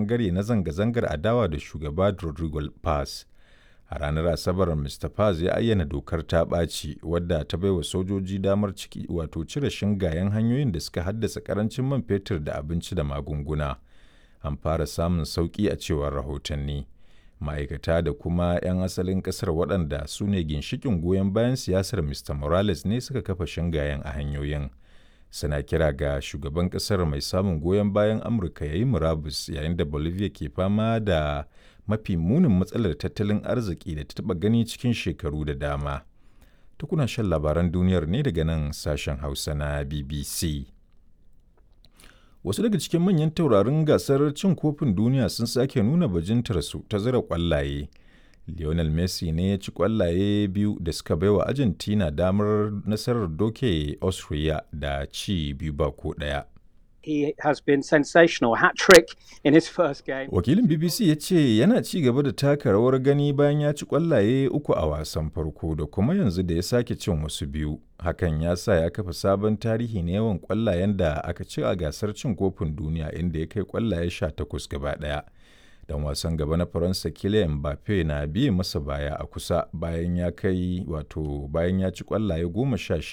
bangare na zanga-zangar adawa da shugaba Rodrigo Paz. A ranar Asabar, Mr. Paz ya ayyana dokar ta ɓaci wadda ta baiwa sojoji damar ciki wato cire shingayen hanyoyin da suka haddasa karancin man fetur da abinci da magunguna. An fara samun sauƙi a cewar rahotanni. Ma'aikata da kuma 'yan asalin ƙasar waɗanda su ne ginshiƙin goyon bayan siyasar Mr. Morales ne suka kafa shingayen a hanyoyin. Suna kira ga shugaban ƙasar mai samun goyon bayan Amurka ya yi murabus yayin da Bolivia ke fama da mafi munin matsalar tattalin arziki da ta taɓa gani cikin shekaru da dama. Tukuna shan labaran duniyar ne daga nan sashen Hausa na BBC. Wasu daga cikin manyan taurarin gasar cin kofin duniya sun sake nuna bajintarsu ta zira kwallaye. Lionel Messi ne ya ci kwallaye biyu da suka baiwa Argentina damar nasarar doke Austria da ci 2 ba ko 1. He has been sensational. Hat trick in his first game. Wakilin BBC ya ce yana ci gaba da taka rawar gani bayan ya ci kwallaye uku a wasan farko da kuma yanzu da ya sake cin wasu biyu. Hakan ya sa ya kafa sabon tarihi na yawan kwallayen da aka ci a gasar cin kofin duniya, inda ya kai kwallaye 18 gaba ɗaya. Dan wasan gaba na Faransa Kylian Mbappe na biye masa baya a kusa bayan ya kai wato bayan ya ci kwallaye 16.